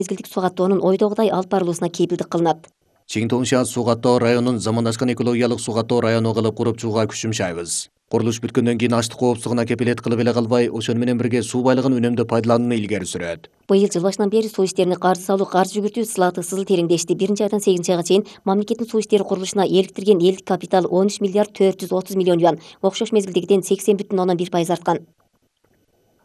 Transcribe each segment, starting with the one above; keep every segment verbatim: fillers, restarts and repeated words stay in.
мезгилдик суу каттоонун ойдогудай алып барылуусуна кепилдик кылынат. Чиң Тоңша суу каттоо районун замандашкан экологиялык суу каттоо району кылып куруп чыгууга күч жумшайбыз. Курулуш бүткөндөн кийин аштык коопсуздугуна кепилет кылып эле калбай, ошону менен бирге суу байлыгын үнөмдөө пайдаланууну илгери сүрөт. Быйыл жыл башынан бери суу иштерине каржы салуу, каржы жүгүртүү сылаты сызыл тереңдешти. Биринчи айдан сегизинчи айга чейин мамлекеттин суу иштери курулушуна эликтирген элдик капитал он үч миллиард төрт жүз отуз миллион юан, окшош мезгилдегиден сексен бүтүн ондон бир пайыз арткан.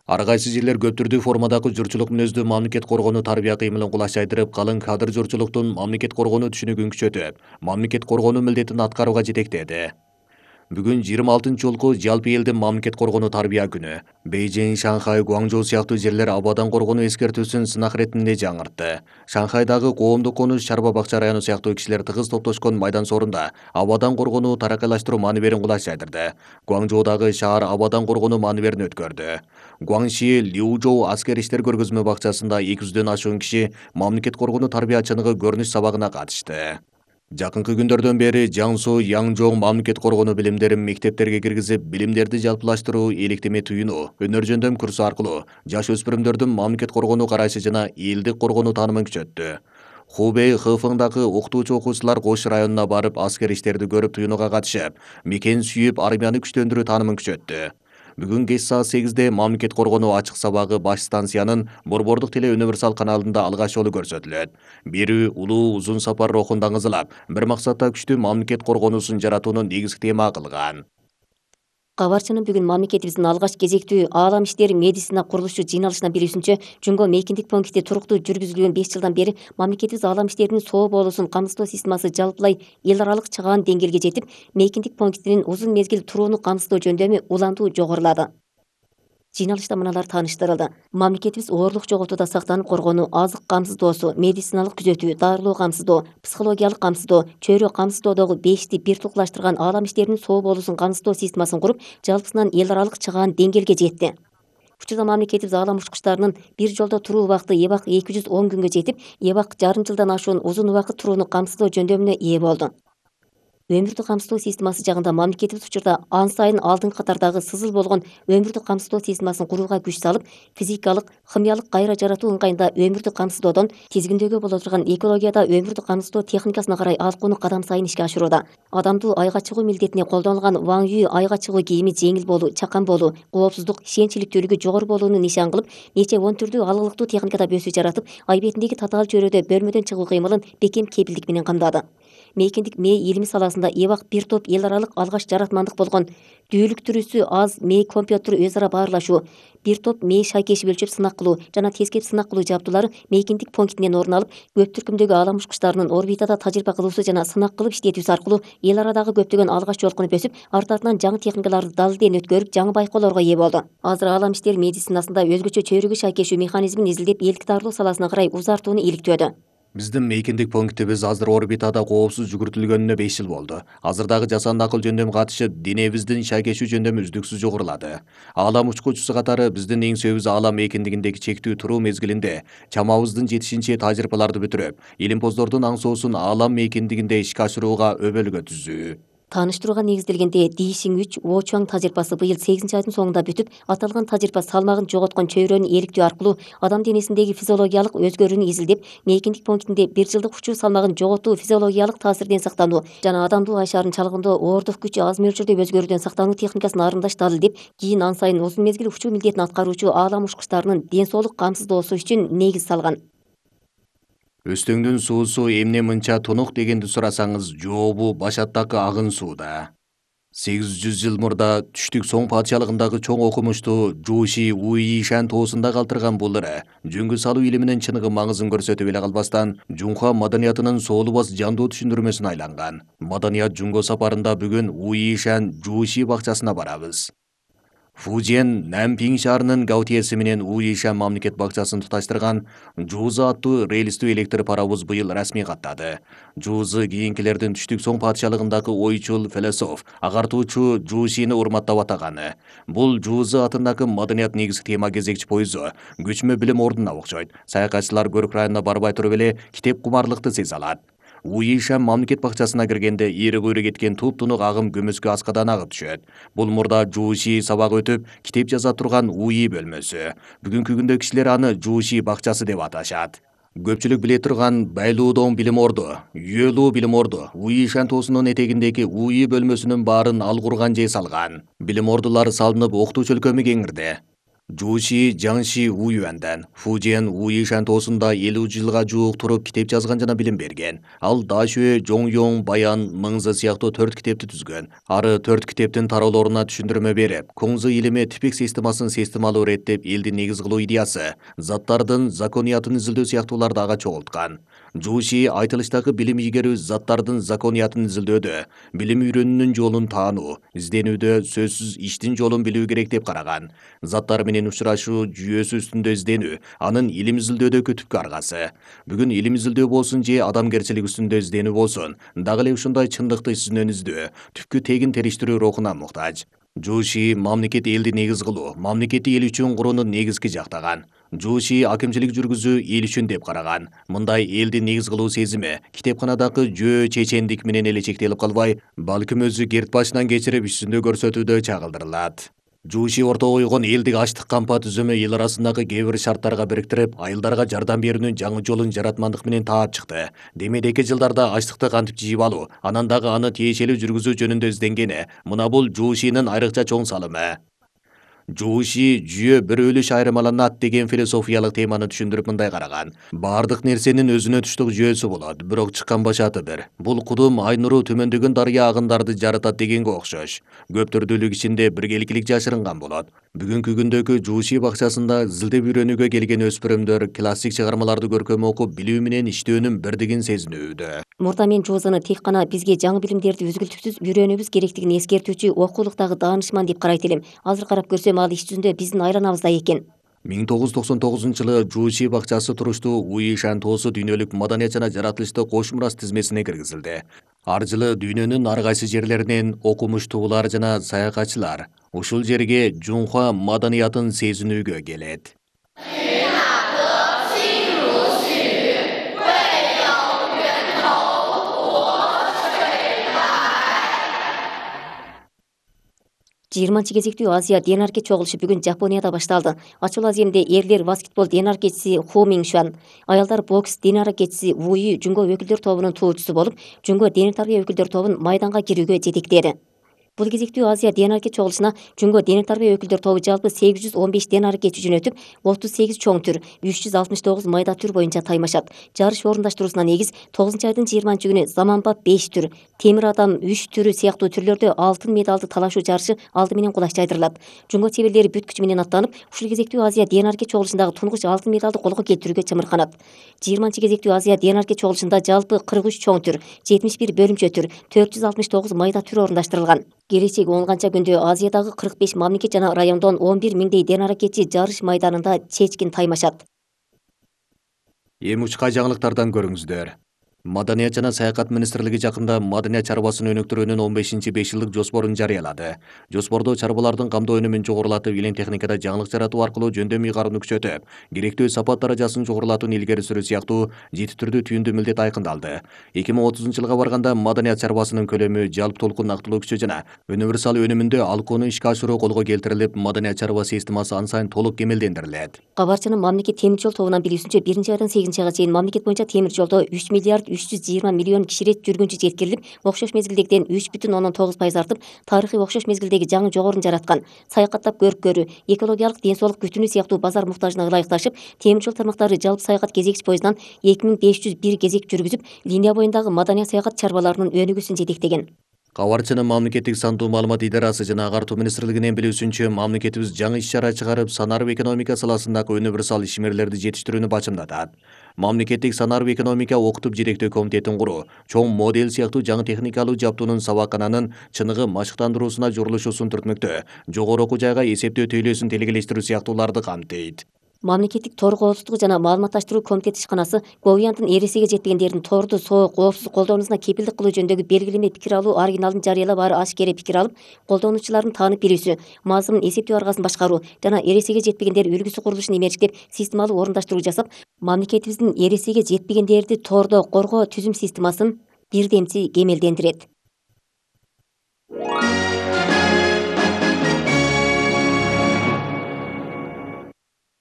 Ар кайсы жерлер көп түрдүү формадагы журчулук мүнөздүү мамлекет коргонуу тарбия кыймылын кулачайдырып, калың кадыр журчулуктун мамлекет коргонуу түшүнүгүн күчөтүп, мамлекет коргонуу милдетин аткарууга жетектеди. Бүгүн жыйырма алтынчы жолку жалпы элдин мамлекет коргонуу тарбия күнү. Бейжиң, Шанхай, Гуаңжоу сыяктуу жерлер абадан коргонуу эскертүүсүн сынак иретинде жаңыртты. Шанхайдагы коомдук конуш Чарба Бакча району сыяктуу кишилер тыгыз топтошкон майдан сорунда абадан коргонуу таракайлаштыруу мааниберин кулачайдырды. Гуаңжоудагы шаар абадан коргонуу мааниберин өткөрдү. Гуаңши Лиужоу аскер иштер көргөзмө бакчасында эки жүздөн ашуун киши мамлекет коргонуу тарбия чыныгы көрүнүш сабагына катышты. Жакынкы күндөрдөн бери Жаңсу, Янчжоу мамлекет коргонуу билимдерин мектептерге киргизип, билимдерди жалпылаштыруу, электеме түйүнүү, өнөр жөндөм курсу аркылуу жаш өспүрүмдөрдүн мамлекет коргонуу карашы жана элдик коргонуу таанымын күчөттү. Хубей Хэфэңдагы окутуучу окуучулар Кош районуна барып, аскер иштерди көрүп түйүнүүгө катышып, мекен сүйүп, армияны күчтөндүрүү таанымын күчөттү. Бүгүн кеч саат сегизде мамлекет коргонуу ачык сабагы баш станциянын Борбордук теле универсал каналында алгач жолу көрсөтүлөт. Берүү улуу узун сапар рухун даңызылап, бир максатта күчтүү мамлекет коргонуусун жаратууну негизги тема кылган. Кабарчынын бүгүн мамлекетибиздин алгач кезектүү аалам иштери медицина курулушу жыйналышына билүүсүнчө, Жумго мейкиндик пункти туруктуу жүргүзүлгөн беш жылдан бери мамлекетибиз аалам иштеринин соо болуусун камсыздоо системасы жалпылай эл аралык чыгаан деңгээлге жетип, мейкиндик пунктинин узун мезгил турууну камсыздоо жөндөмү улантуу жогорулады. Жыйналышта мыналар тааныштырылды. Мамлекетибиз оорлук жоготууда сактанып коргонуу, азык камсыздоосу, медициналык күзөтүү, дарылоо камсыздоо, психологиялык камсыздоо, чөйрө камсыздоодогу бешти бир туклаштырган аалам иштеринин соо болуусун камсыздоо системасын куруп, жалпысынан эл аралык чыгаан деңгээлге жетти. Учурда мамлекетибиз аалам учкучтарынын бир жолдо туруу убакыты эбак эки жүз он күнгө жетип, эбак жарым жылдан ашуун узун убакыт турууну камсыздоо жөндөмүнө ээ болду. Өмүрдү камсыздоо системасы жагында мамлекетибиз учурда ан сайын алдыңкы катардагы сызыл болгон өмүрдү камсыздоо системасын курууга күч салып, физикалык, химиялык кайра жаратуу ыңгайында өмүрдү камсыздоодон тизгиндөөгө боло турган экологияда өмүрдү камсыздоо техникасына карай алкууну кадам сайын ишке ашырууда. Адамдуу айга чыгуу милдетине колдонулган Ваң Ю айга чыгуу кийими жеңил болуу, чакан болуу, коопсуздук, ишенчиликтүүлүгү жогору болууну нишан кылып, нече он түрдүү алгылыктуу техникада бөсүү жаратып, ай бетиндеги татаал чөйрөдө бөлмөдөн чыгуу кыймылын бекем кепилдик менен камдады. Мейкиндик мээ илими саласында эбак бир топ эл аралык алгач жаратмандык болгон дүүлүктүрүүсү аз мээ компьютер өз ара баарлашуу, бир топ мээ шайкешип өлчөп сынак кылуу жана тескеп сынак кылуу жабдуулары мейкиндик пунктинен орун алып, көп түркүмдөгү аалам учкучтарынын орбитада тажрыйба кылуусу жана сынак кылып иштетүүсү аркылуу эл арадагы көптөгөн алгач жолкунуп өсүп, арты артынан жаңы техникаларды дал элден өткөрүп, жаңы байкоолорго ээ болду. Азыр аалам иштери медицинасында өзгөчө чөйрөгө шайкешүү механизмин изилдеп, элдик дарылоо саласына карай узартууну иликтөөдө. Биздин мейкиндик пунктибиз азыр орбитада коопсуз жүгүртүлгөнүнө беш жыл болду. Азыр дагы жасанды акыл жөндөмү катышып, денебиздин шайкешүү жөндөмү үздүксүз жогорулады. Аалам учкучусу катары биздин эң сөйүбүз аалам мейкиндигиндеги чектүү туруу мезгилинде чамабыздын жетишинче тажрыйбаларды бүтүрүп, илимпоздордун аң соосун аалам мейкиндигинде ишке ашырууга өбөлгө түзүү. Тааныштырууга негизделгенде Дишиң үч Очуаң тажрыйбасы быйыл сегизинчи айдын соңунда бүтүп, аталган тажрыйба салмагын жоготкон чөйрөнү иликтөө аркылуу адам денесиндеги физиологиялык өзгөрүүнү изилдеп, мейкиндик пунктинде бир жылдык учуу салмагын жоготуу, физиологиялык таасирден сактануу жана адамдуу ай шарын чалгындоо, оордук күч аз мөлчөрдө өзгөрүүдөн сактануу техникасын арымдаш далилдеп, кийин ан сайын узун мезгил учуу милдетин аткаруучу аалам учкучтарынын ден соолук камсыздоосу үчүн негиз салган. Өстөңдүн суусу эмне мынча тунук дегенди сурасаңыз, жообу башаттагы агын сууда. сегиз жүз жыл мурда түштүк Соң патшалыгындагы чоң окумуштуу Жуши Уишан тоосунда калтырган бул ыра жөнгө салуу илиминин чыныгы маңызын көрсөтүп эле калбастан, Жунха маданиятынын соолубас жандуу түшүндүрмөсүнө айланган. Маданият Жунго сапарында бүгүн Уишан Жуши бакчасына барабыз. Фужен Нанпиң шаарынын Гаутиеси менен Уишан мамлекет бакчасын туташтырган Жузы аттуу рельстүү электр паровоз быйыл расмий каттады. Жузы кийинкилердин түштүк Соң патшалыгындагы ойчул, философ, агартуучу Жушини урматтап атаганы. Бул Жузы атындагы маданият негизги тема кезекчи поезу көчмө билим ордуна окшойт. Саякатчылар Көрк районуна барбай туруп эле китеп кумарлыкты сезе алат. Уишан мамлекет бакчасына киргенде ири көйрө кеткен туп-тунук агым көмөскө аскадан агып түшөт. Бул мурда Жуши сабак өтүп, китеп жаза турган Уи бөлмөсү. Бүгүнкү күндө кишилер аны Жуши бакчасы деп аташат. Көпчүлүк биле турган Байлуудон билим орду, Үйөлүү билим орду УИ шантоосунун этегиндеги УИ бөлмөсүнүн баарын ал курган же салган. Билим ордулары салынып окутуучу өлкөмү кеңирди. Жуши Жаңши Уюандан Фужиан УИ шантоосунда элүү жылга жуук туруп китеп жазган жана билим берген. Ал Дашуэ, Жоңёң, Баян, Мыңзы сыяктуу төрт китепти түзгөн. Ары төрт китептин тароолоруна түшүндүрмө берип, Куңзы илими типик системасын системалуу реттеп элди негиз кылуу идеясы, заттардын закониятын изилдөө сыяктууларды ага чогулткан. Жуши айтылыштагы билим ийгерүү заттардын закониятын изилдөөдө, билим үйрөнүүнүн жолун таануу, изденүүдө сөзсүз иштин жолун билүү керек деп караган. Заттар менен учурашуу жүйөсү үстүндө изденүү анын илим изилдөөдө түпкү аргасы. Бүгүн илим изилдөө болсун же адамгерчилик үстүндө изденүү болсун, дагы эле ушундай чындыкты изинөн издөө, түпкү тегин териштирүү рухуна муктаж. Жуши мамлекет элди негиз кылуу, мамлекетти эл үчүн курууну негизги жактаган. Жуши акимчилик жүргүзүү эл үчүн деп караган. Мындай элди негиз кылуу сезими китепканадагы жөө чечендик менен эле чектелип калбай, балким өзү керт башынан кечирип үстүндө көрсөтүүдө чагылдырылат. Жуши ортого койгон элдик ачлык кампа түзүмү эл арасындагы кээ бир шарттарга бириктирип, айылдарга жардам берүүнүн жаңы жолун жаратмандык менен таап чыкты. Демейдеки жылдарда ачлыкты кантип жыйып алуу, анан дагы аны тиешелүү жүргүзүү жөнүндө изденгени, мына бул Жушинин айрыкча чоң салымы. Жуши жүйө бир өлүш айырмаланат деген философиялык теманы түшүндүрүп мындай караган. Бардык нерсенин өзүнө туштук жүйөсү болот, бирок чыккан башаты бир. Бул кудум ай нуру төмөндөгөн дарыя агындарды жаратат дегенге окшош. Көп түрдүүлүк ичинде биргеликилик жашырынган болот. Бүгүнкү күндөгү Жуши бакчасында зилдеп үйрөнүүгө келген өспүрүмдөр классик чыгармаларды көркөм окуп, билүү менен иштөөнүн бирдигин сезинүүдө. Мурда мен Жозаны тек гана бизге жаңы билимдерди үзгүлтүксүз үйрөнүүбүз керектигин эскертүүчү окуулуктагы даанышман деп карайт элем. Азыр карап көрсөм ал иш жүзүндө биздин айланабызда экен. миң тогуз жүз токсон тогузунчу жылы Жуши бакчасы туруштуу УИ шантоосу дүйнөлүк маданият жана жаратылышты кош мурас тизмесине киргизилди. Ар жылы дүйнөнүн ар кайсы жерлеринен окумуштуулар жана саякатчылар ушул жерге Жунхва маданиятын сезинүүгө келет. жыйырманчы кезектүү Азия Денарке чогулушу бүгүн Жапонияда башталды. Ачуу аземде эрлер баскетбол денаркечиси Ху Миншан, аялдар бокс денаркечиси Вуи Жунго өкүлдөр тобунун туучусу болуп, Жунго дене тарбия өкүлдөр тобун майданга кирүүгө жетектеди. Бул кезектүү Азия денарке чогулушуна Жунго дене тарбия өкүлдөр тобу жалпы сегиз жүз он беш денаркечи жөнөтүп, отуз сегиз чоң түр, үч жүз алтымыш тогуз майда түр боюнча таймашат. Жарыш орундаштыруусуна негиз тогузунчу айдын жыйырманчы күнү заманбап беш түр, темир адам үч түрү сыяктуу түрлөрдө алтын медалды талашуу жарышы алды менен кулаш жайдырылат. Жунго чеберлери бүт күчү менен аттанып, ушул кезектүү Азия денарке чогулушундагы тунугуч алтын медалды колго келтирүүгө чымырканат. жыйырманчы кезектүү Азия денарке чогулушунда жалпы кырк үч чоң түр, жетимиш бир бөлүмчө түр, төрт жүз алтымыш тогуз майда түр орундаштырылган. Келечеги он канча күндө Азиядагы кырк беш мамлекет жана райондон он бир миңдей денаркечи жарыш майданында чечкин таймашат. Эми учка жаңылыктардан көрүңүздөр. Маданият жана саякат министрлиги жакында маданият чарбасын өнүктүрүүнүн он бешинчи беш жылдык жоспорун жарыялады. Жоспордо чарбалардын камдоо өнүмүн жогорулатып, илен техникада жаңылык жаратуу аркылуу жөндөм ыйгаруну күчөтүп, керектүү сапат даражасын жогорулатууну илгери сүрүү сыяктуу жети түрдүү түйүндүү милдет айкындалды. эки миң отузунчу жылга барганда маданият чарбасынын көлөмү, жалпы толкун актылуу күчү жана универсал өнүмүндө алкоону ишке ашыруу колго келтирилип, маданият чарба системасы аны сайын толук кемелдендирилет. Кабарчынын мамлекет темир жол тобунан билүүсүнчө биринчи айдан сегизинчи айга чейин мамлекет боюнча темир жолдо үч миллиард үч жүз жыйырма миллион киширет жүргүнчү жеткирилип, окшош мезгилдегиден үч бүтүн ондон тогуз пайыз артып, тарыхый окшош мезгилдеги жаңы жогорун жараткан. Саякаттап көрүп көрүү, экологиялык, ден соолук күтүүнү сыяктуу базар муктажына ылайыкташып, темир жол тармактары жалпы саякат кезекчи поездынан эки миң беш жүз бир кезек жүргүзүп, линия боюндагы маданият саякат чарбаларынын өнүгүүсүн жетектеген. Кабарчынын мамлекеттик сандуу маалымат идарасы жана агартуу министрлигинин билүүсүнчө, мамлекетибиз жаңы иш-чара чыгарып, санарып экономика саласындагы универсал ишмерлерди жетиштирүүнү бачымдатат. Мамлекеттик санарып экономика окутуп жетектөө комитетин куруу, чоң модель сыяктуу жаңы техникалуу жабдуунун сабакананын чыныгы машыктандыруусуна журулушусун түртмөктөө, жогору окуу жайга эсептөө тейлөөсүн телегелештирүү сыяктууларды камтыйт. Мамлекеттик тор коопсуздугу жана маалыматташтыруу комитети ишканасы Говиянтын эресиге жетпегендердин торду соо коопсуз колдонуусуна кепилдик кылуу жөнүндөгү белгилеме пикир алуу оригиналын жарыялап, ары ашкере пикир алып, колдонуучулардын таанып билүүсү, мазмун эсептөө аргасын башкаруу жана эресиге жетпегендер үлгүсү курулушун имериштеп, системалуу орундаштыруу жасап, мамлекетибиздин эресиге жетпегендерди тордо коргоо түзүм системасын бирдемчи кемелдендирет.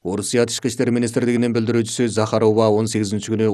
Орусия Тышкы иштер министрлигинин билдирүүчүсү Захарова он сегизинчи күнү